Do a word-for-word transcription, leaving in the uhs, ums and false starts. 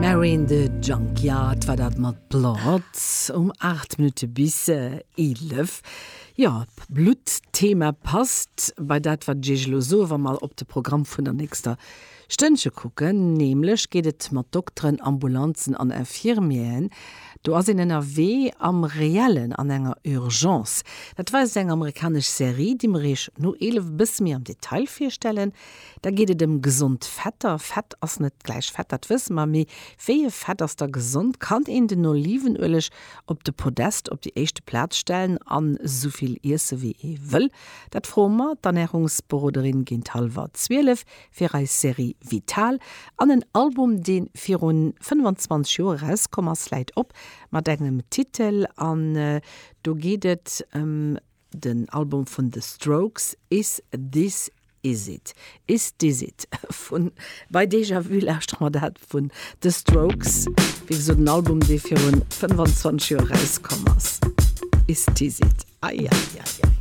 Mary in the Junkyard war dat mat Blood um aacht Minutte bis eelef. Jo, Blutt-Thema passt bei dat wat ech elo soen, wa mer op de Programm vun der nächster Stënnche kucken, nämlech geet et mat Dokteren, Ambulanzen an Infirmieren. Do ass een ënnerwee am Reellen an enger Urgence. Dat weist eng amerikanesch Serie, déi mer iech no eelef bësse méi am Detail virstellen. Da geet et ëm gesond Fetter. Fett ass net gläich Fett, dat wësse mer, mee wéi e Fett ass da gesond? Kann een den Olivenueleg op de Podest op déi éischte Plaz stellen an esouvill iesse wéi ee wëll? Dat froe mer d'Ernärungsberoderin géint hallwer zwielef fir eis Serie Vital. An en Album, dee virun fënnfanzwanzeg Joer erauskomm ass, läit op mat engem Titel an do geet et ëm den Album vun The Strokes, Is This Is It? Is This It? Vun bei Déjà Vu lauschtere mer dat vun The Strokes, wéi gesot en Album, dee virun fënnfanzwanzeg Joer erauskomm ass. Is This It? Ai, ai, ai, ai.